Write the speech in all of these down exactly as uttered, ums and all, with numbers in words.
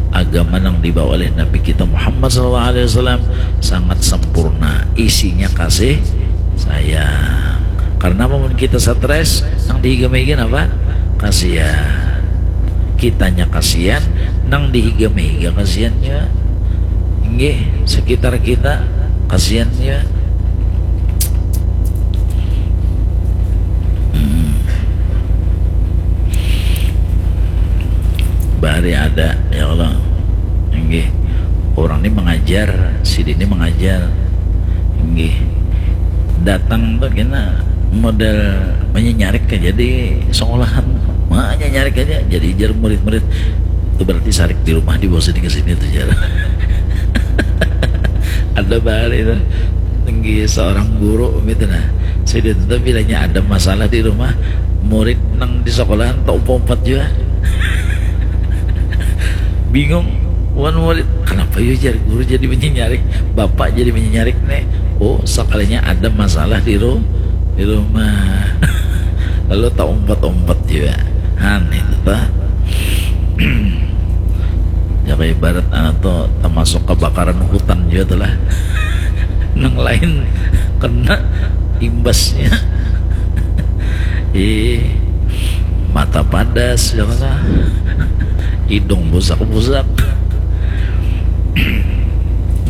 Agama nang dibawa oleh Nabi kita Muhammad sallallahu alaihi wasallam sangat sempurna, isinya kasih sayang. Karena mun kita stres, nang dihiga-higa apa? Kasihan. Kitanya kasihan, nang dihiga-higa kasihan juga. Nggih, sekitar kita kasihan juga. Hmm. Bahari ada, ya Allah. Nggih. Orang ini mengajar, si ini mengajar. Nggih. Datang tuh kena model menyenyarik aja di sekolahan. Menyenyarik aja, jadi jar murid-murid. Itu berarti sarik di rumah, dibawa sini ke sini tuh jar. Ada bahari itu. Tinggi seorang guru gitu nah. Sudah itu bilanya ada masalah di rumah, murid nang di sekolahan tak umpat juga. Bingung, wan murid, kenapa ya jar guru jadi menyenyarik, bapak jadi menyenyarik nih? Oh, sekalinya ada masalah di ru-, di rumah. Lalu tak umpat-umpat juga. Han itu tuh. Ya, kayak ibarat anak tuh termasuk kebakaran hutan juga tuh lah. Nang lain kena imbasnya. Ih, mata padas, ya lah. Hidung busak-busak.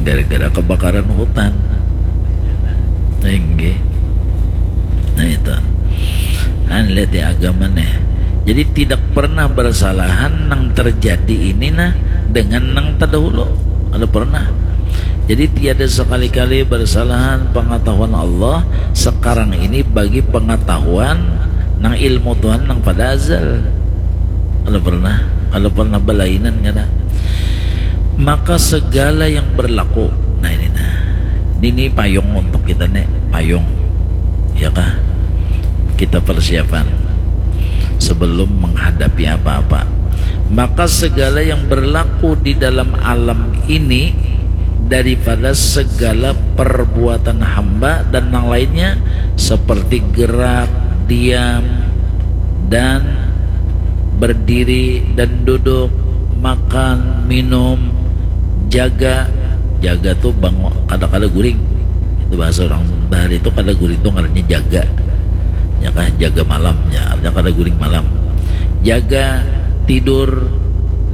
Gara-gara kebakaran hutan. Inggih. Nah, itu. Nah, lihat ya agama nih. Jadi, tidak pernah bersalahan nang terjadi ini nah dengan nang terdahulu. Ada pernah. Jadi, tiada sekali-kali bersalahan pengetahuan Allah sekarang ini bagi pengetahuan nang ilmu Tuhan nang pada azal. Kalau pernah, kalau pernah belainan kada. Maka segala yang berlaku. Nah, ini nah. Ini payung untuk kita nih, payung. Ya kah? Kita persiapan sebelum menghadapi apa-apa. Maka segala yang berlaku di dalam alam ini daripada segala perbuatan hamba dan yang lainnya seperti gerak, diam, dan berdiri dan duduk, makan, minum, jaga. Jaga tuh bangun, kada-kada guring. Itu bahasa orang bahari itu kada guring tuh ngarannya jaga. Ya kah, jaga malamnya, artinya kada guring malam. Jaga, tidur,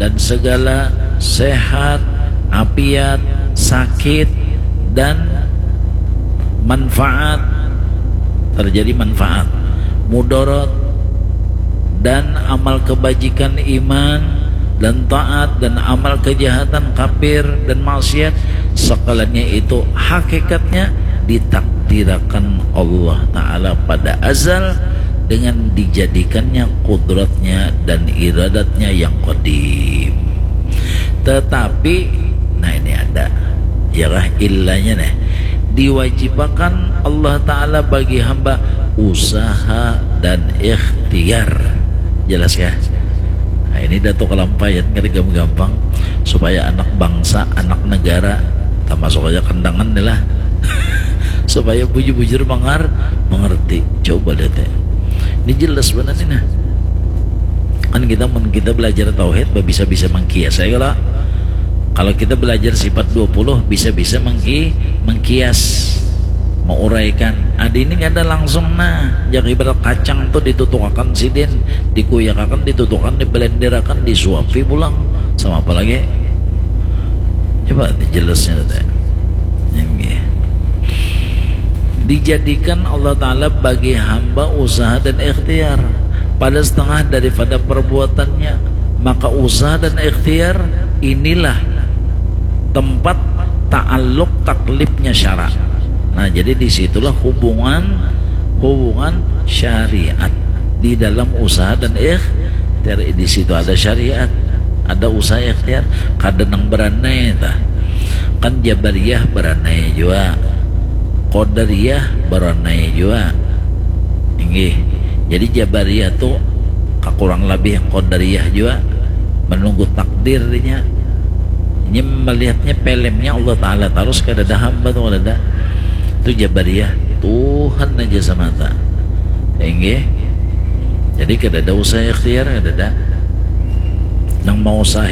dan segala sehat, apiat, sakit, dan manfaat, terjadi manfaat, mudarat, dan amal kebajikan iman dan taat dan amal kejahatan kafir dan maksiat, sekaliannya itu hakikatnya ditakdirakan Allah Ta'ala pada azal dengan dijadikannya kudratnya dan iradatnya yang qadim. Tetapi, nah ini ada, ya kah, illanya nih, diwajibakan Allah Ta'ala bagi hamba usaha dan ikhtiar. Jelas kah? Nah, ini Datuk Kalampayan kada gampang-gampang supaya anak bangsa, anak negara, termasuk aja Kandangan nih lah. Supaya bujur-bujur mengar-, mengerti. Coba lihat ya. Ini jelas benar nih nah. Kan kita mun kita belajar tauhid bisa-bisa mengkias ya kalau, kalau kita belajar sifat dua puluh bisa-bisa mengki-, mengkias, menguraikan. Adi ini kada langsung nah, yang ibarat kacang tuh ditutukakan sidin, dikuyakakan, ditutukakan, dibelenderakan, disuapi pulang. Sama apa lagi? Coba jelasnya teh. Ini. Dijadikan Allah Ta'ala bagi hamba usaha dan ikhtiar pada setengah daripada perbuatannya. Maka usaha dan ikhtiar inilah tempat ta'aluk taklifnya syara. Nah, jadi disitulah hubungan, hubungan syariat di dalam usaha dan ikhtiar. Di situ ada syariat, ada usaha ikhtiar. Kada nang beranai tah. Kan Jabariyah beranai jua, Qadariyah beranai jua. Inggih. Jadi Jabariyah tu kakurang labih Qadariyah jua, menunggu takdir dinya. Ini melihatnya filmnya Allah Ta'ala tarus, kada ada hamba tu, kada ada. Tu Jabariyah, Tuhan aja semata. Inggih. Jadi kada ada usaha ikhtiar, kada ada. Nang mau usaha